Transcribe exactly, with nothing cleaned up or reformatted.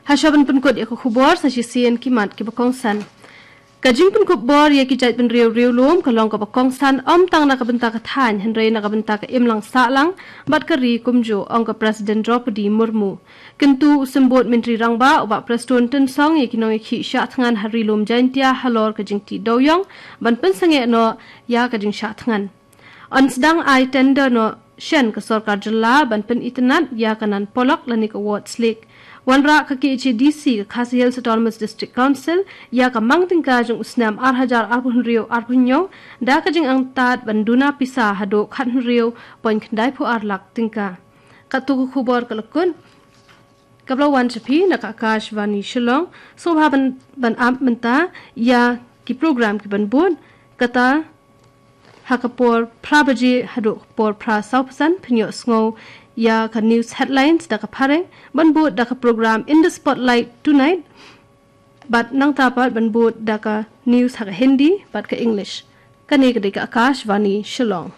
Hashwa ban pynkut ïa ka khubor, sa shisien ki mat kiba kongsan. Ka jingpynkup bor ïa ki jaitbynriew riewlum ka long kaba kongsan ym tang na ka bynta ka thaiñ hynrei na ka bynta ka imlang sahlang bad ka ri kumjuh, ong ka President Droupadi Murmu. Kyntu u Symbud Myntri Rangbah, u Bah Prestone Tynsong, ïa ki nongïakhih shah thngan ha Ri Lum Jaintia halor ka jingtih dewiong ban pynsangeh noh ïa ka jingshah thngan. Yn sdang ai tender noh shen ka sorkar jylla ban pynitynnad ïa ka Nan Polok lane ka Ward Slick. Wanrah ka K H A D C, ka Khasi Hills Autonomous District Council, ïa ka mang tyngka jong u snem ar hajar arphew hynriew arphew hynñiew da ka jingangtad ban duna pisa haduh khathynriew point khyndai phew ar lak tyngka. Katto ka khubor ka la kut, kaba la wan sha phi na ka Akashvani Shillong. Sngewbha ban, ban ap mynta ïa ki program kiban bud, kata ha ka por phra baje haduh ka por phra saw phew san phin ïohsngew ïa ka news headlines da ka phareng, ban bud da ka program In the Spotlight Tonight, bad nangta pat ban bud da ka news ha ka Hindi bad ka English. Kane ka dei ka Akashvani Shillong.